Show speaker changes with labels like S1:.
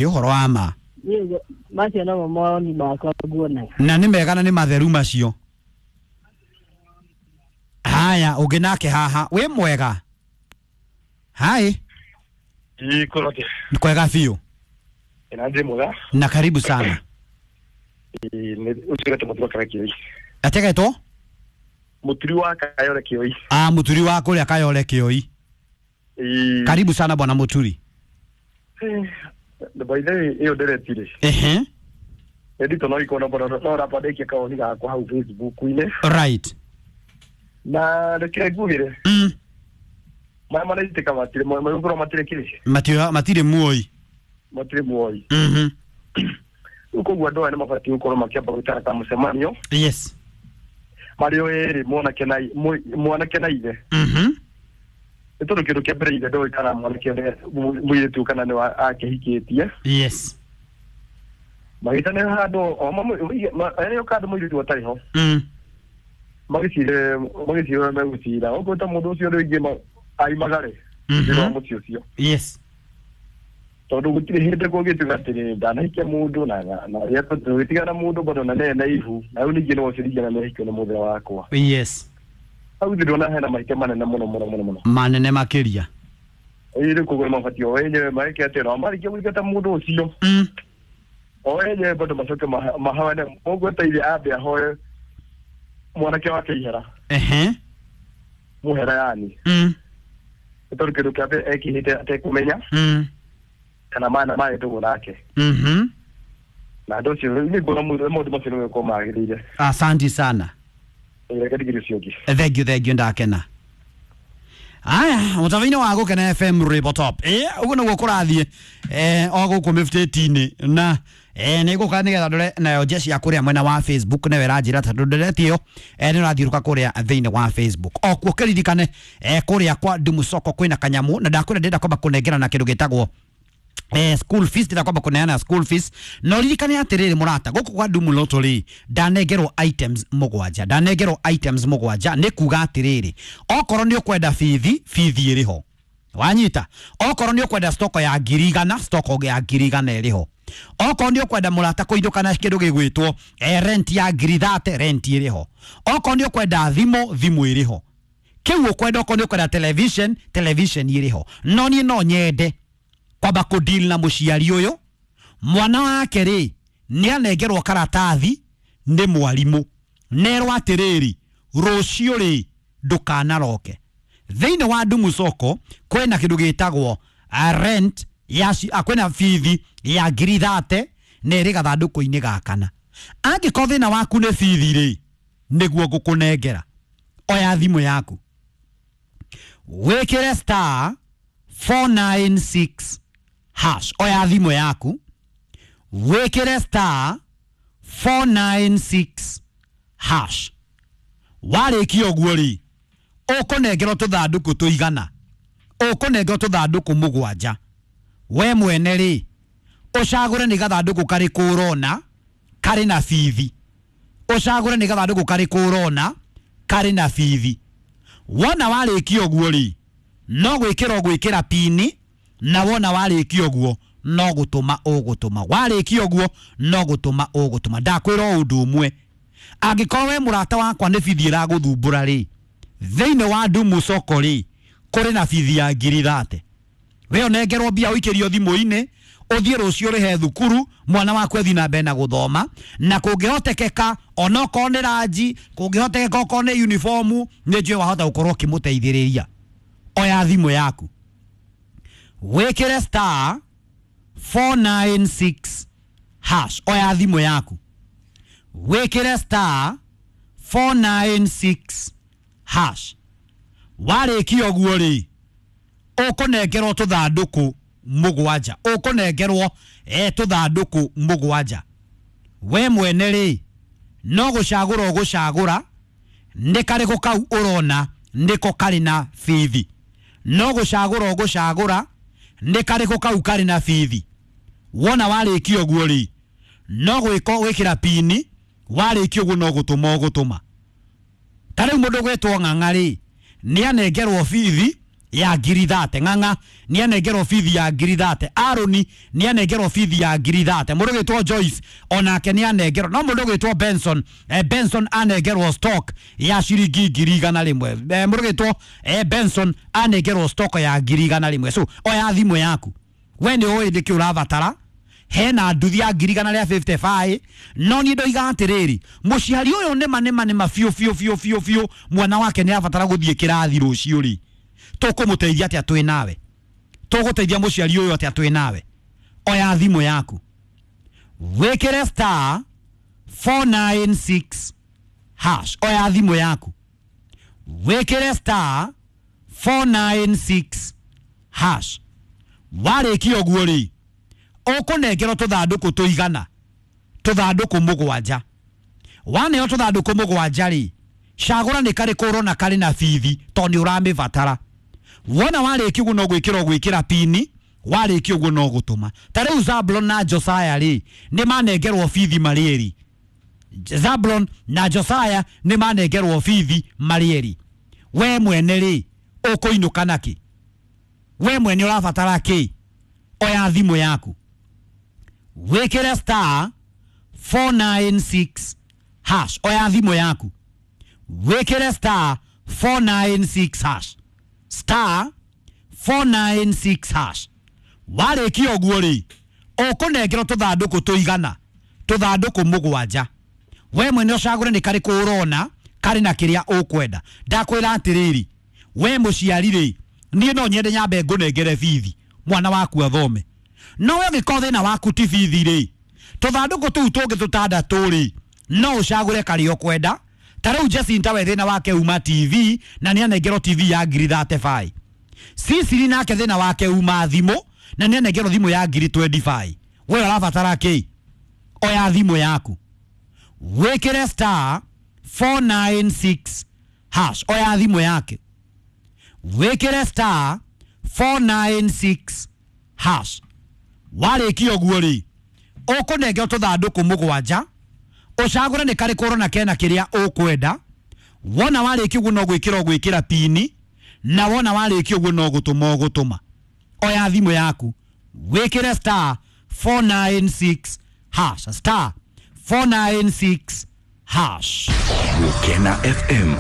S1: Nĩ ũhoro wa ma.
S2: Niĩ macio nomo mawoni makwa nguonaga.
S1: Na nĩ mega na nĩ matheru macio. Haya, ũngĩ nake haha wĩ mwega? Hai.
S3: Ikorote.
S1: Nĩ kwega biũ.
S3: Ina ndĩ mwega.
S1: Na karibu sana.
S3: Ũcio mũturi wa Kayore Kĩoi.
S1: Ategetwo?
S3: Mũturi wa Kayore Kĩoi.
S1: Ah, mũturi wa kũrĩa Kayore Kĩoi. Karibu sana bwana Mũturi.
S3: By the way, ĩyo ndereti rĩ.
S1: Ehe.
S3: Ndito no ikono bwana no rapandekia kawoni gakwa hau Facebook-inĩ.
S1: Right.
S3: Na reke ngugire. Maya maraitĩka matirĩ magũkorwo matirĩ kĩrĩ.
S1: Matirĩ matirĩ muoi.
S3: Matirĩ muoi. Rĩu koguo andũ aya nĩ mabatiĩ gũkorwo makĩamba gwĩtana ta mũcemanio.
S1: Yes.
S3: Marĩ o erĩ mwanake na mwanake na ithe. Nĩ tondũ kĩndũ kĩa mbere ithe ndoĩ kana mwanake mũirĩtu kana nĩ akĩhikĩtie.
S1: Yes.
S3: Magĩtane handũ o arĩa kandũ mũirĩtu atarĩ ho. Magĩcire magĩcire ũrĩa megũcira. Okorwo ta mũndũ ũcio rĩngĩ aimagare. Thĩinĩ wa mũciĩ ũcio.
S1: Yes.
S3: Tondũ gũtirĩ hĩndĩ kũngĩtuĩka atĩrĩ ndanahikia mũndũ na na tũgĩtigana mũndũ bado na nene ihu na rĩu ningĩ no ũciringana nĩ ahikio nĩ mũthee wakwa.
S1: Yes.
S3: Hau thĩ ndona hena mahĩtia manene mũno mũno mũno mũno.
S1: Manene makĩria.
S3: Ĩĩ rĩu koguo nĩ mabatiĩ o enyewe meke atĩ no marĩkia gũingata mũndũ ũcio. O enyewe bado macoke mahoane ũguo ta ithe ambe ahoe mwanake wake ihera.
S1: Ehe.
S3: Mũhera yani. Nĩ tondũ kĩndũ kĩa mbere ekĩhĩte atekũmenya. Kana mana maĩ ndũgũ nake. Na andũ ũcio nĩ nguona maũndũ macio nĩ gũkorwo magĩrĩire.
S1: Asante sana.
S3: Reke ndigire ũcio ũngĩ.
S1: Thank you, thank you, ndakena. Aya, mũtaba-inĩ wa Gũkena FM Rĩbo Top. Ũguo nĩguo kũrathiĩ o gũkũ mĩbutĩti-inĩ na nĩ ngũka nĩgetha ndore nayo njeci ya kũrĩa mwena wa Facebook nayo ĩranjĩra tondũ ndereti ĩyo nĩ ũrathiũrũka kũrĩa thĩinĩ wa Facebook. O kuo kĩririkane kũrĩa kwa Dumu Soko kwĩna kanyamũ na ndakwĩra ndĩrenda kwamba kũnengerana kĩndũ gĩtagwo school fees, ndĩrenda kwamba kũneana school fees no ririkane atĩrĩrĩ mũrata, gũkũ kwa Dumu Lottery ndanengerwo items mũgwanja, ndanengerwo items mũgwanja nĩ kuga atĩrĩrĩ, okorwo nĩ ũkwenda bithi, bithi ĩrĩ ho, wanyita. Okorwo nĩ ũkwenda stoko ya 100,000, stoko ya 100,000 ĩrĩ ho. Okorwo nĩ ũkwenda mũrata kũindũka na kĩndũ gĩgwĩtwo rent ya 30,000, rent ĩrĩ ho. Okorwo nĩ ũkwenda thimũ, thimũ ĩrĩ ho. Kĩu ũkwenda, okorwo nĩ ũkwenda television, television ĩrĩ ho. No niĩ no nyende kwamba kũ deal na mũciari ũyũ, mwana wake rĩ nĩ anengerwo karatathi nĩ mwarimũ nerwo atĩrĩrĩ, rũciũ rĩ ndũkanaroke. Thĩinĩ wa Dumu Soko kwĩna kĩndũ gĩtagwo rent ya kwĩna bithi ya 30,000 na ĩrĩ gathandũkũ-inĩ ga kana. Angĩkorwo thĩna waku nĩ bithi rĩ, nĩguo ngũkũnengera. Oya thimũ yaku wĩkĩre star 496 hash. Oya thimũ yaku wĩkĩre star 496 hash. Warĩkia ũguo rĩ, ũkũnengerwo tũthandũkũ tũigana, ũkũnengerwo tũthandũkũ mũgwanja. We mwene rĩ, ũcagũre nĩ gathandũkũ karĩkũ ũrona karĩ na bithi, ũcagũre nĩ gathandũkũ karĩkũ ũrona karĩ na bithi. Wona warĩkia ũguo rĩ, no gwĩkĩra ũgwĩkĩra pini, na wona warĩkia ũguo no gũtũma ũgũtũma. Warĩkia ũguo no gũtũma ũgũtũma. Ndakwĩra o ũndũ ũmwe, angĩkorwo we mũrata wakwa nĩ bithi ĩragũthumbũra rĩ, thĩinĩ wa Dumu Soko rĩ, kũrĩ na bithi ya 30,000. We ũnengerwo mbia ũikĩrio thimũ-inĩ, ũthiĩ rũciũ ũrĩhe thukuru, mwana waku athiĩ na mbere na gũthoma, na kũngĩhotekeka onokorwo nĩ ranji, kũngĩhotekeka okorwo nĩ uniformu, nĩ njũĩ wahota gũkorwo ũkĩmũteithĩrĩria. Oya thimũ yaku wĩkĩre star 496 hash. Oya thimũ yaku wĩkĩre star 496 hash. Warĩkia ũguo rĩ, ũkũnengerwo tũthandũkũ mũgwanja, ũkũnengerwo tũthandũkũ mũgwanja. We mwene rĩ, no gũcagũra ũgũcagũra nĩ karĩkũ kau ũrona nĩko karĩ na bithi, no gũcagũra ũgũcagũra nĩ karĩkũ kau karĩ na bithi. Wona warĩkia ũguo rĩ, no gwĩka gwĩkĩra pini, warĩkia ũguo no gũtũma ũgũtũma. Ta rĩu mũndũ gwĩtwo Ng'ang'a rĩ, nĩ anengerwo bithi ya ngiri 30. Ng'ang'a nĩ anengerwo bithi ya ngiri 30. Aroni nĩ anengerwo bithi ya ngiri 30. Mũndũ ũgwĩtwo Joyce onake nĩ anengerwo. No mũndũ ũgwĩtwo Benson, Benson anengerwo stock ya ciringi 100,000. Mũndũ ũgwĩtwo Benson anengerwo stock ya 100,000. So oya thimũ yaku, we nĩ ũĩ nĩkĩ ũrabatara. Hena nduthi ya 155. No niĩ ndoiga atĩrĩrĩ, mũciari ũyũ nĩma nĩma nĩma biũ biũ biũ biũ biũ mwana wake nĩ abatara gũthiĩ kĩrathi rũciũ rĩ, tũkũmũteithia atĩa twĩ nawe? Tũgũteithia mũciari ũyũ atĩa twĩ nawe? Oya thimũ yaku, wĩkĩre star 496 hash. Oya thimũ yaku, wĩkĩre star 496 hash. Warĩkia ũguo rĩ, ũkũnengerwo tũthandũkũ tũigana tũthandũkũ 7. Waneo tũthandũkũ 7 rĩ, cagũra nĩ karĩkũ ũrona karĩ na bithi tondũ nĩ ũramĩbatara. Wona warĩkia ũguo no gwĩkĩra ũgwĩkĩra pini, warĩkia ũguo no gũtũma. Ta rĩu Zablon na Josiah rĩ, nĩ manengerwo bithi marĩ erĩ. Zablon na Josiah nĩ manengerwo bithi marĩ erĩ. We mwene rĩ, ũkũinũka nakĩ? We mwene ũrabatara kĩ? Oya thimũ yaku, wĩkĩre star 496 hash. Oya thimũ yaku, wĩkĩre star 496 hash. Star 496 hash. Warĩkia ũguo rĩ, ũkũnengerwo tũthandũkũ tũigana tũthandũkũ 7. We mwene ũcagũre nĩ karĩkũ ũrona karĩ na kĩrĩa ũkwenda. Ndakwĩra atĩrĩrĩ, we mũciari rĩ, niĩ no nyende nyambe ngũnengere bithi mwana waku athome. No we ũngĩkorwo thĩna waku ti bithi rĩ, tũthandũkũ tũu tũngĩ tũtandatũ rĩ, no ũcagũre karĩa ũkwenda. Ta rĩu Jacinta we thĩna wake uma TV na nĩ anengerwo TV ya ngiri 35. Sisiri nake thĩna wake uma thimũ na nĩ anengerwo thimũ ya ngiri 25. We ũrabatara kĩ? Oya thimũ yaku, wĩkĩre star 496 hash. Oya thimũ yake, wĩkĩre star 496 hash. Warĩkia ũguo rĩ, ũkũnengerwo tũthandũkũ 7, ũcagũre nĩ karĩkũ ũrona kena kĩrĩa ũkwenda. Wona warĩkia ũguo no gwĩkĩra ũgwĩkĩra pini, na wona warĩkia ũguo no gũtũma ũgũtũma. Oya thimũ yaku, wĩkĩre star 496 hash. Star 496 hash.
S4: Gukena FM,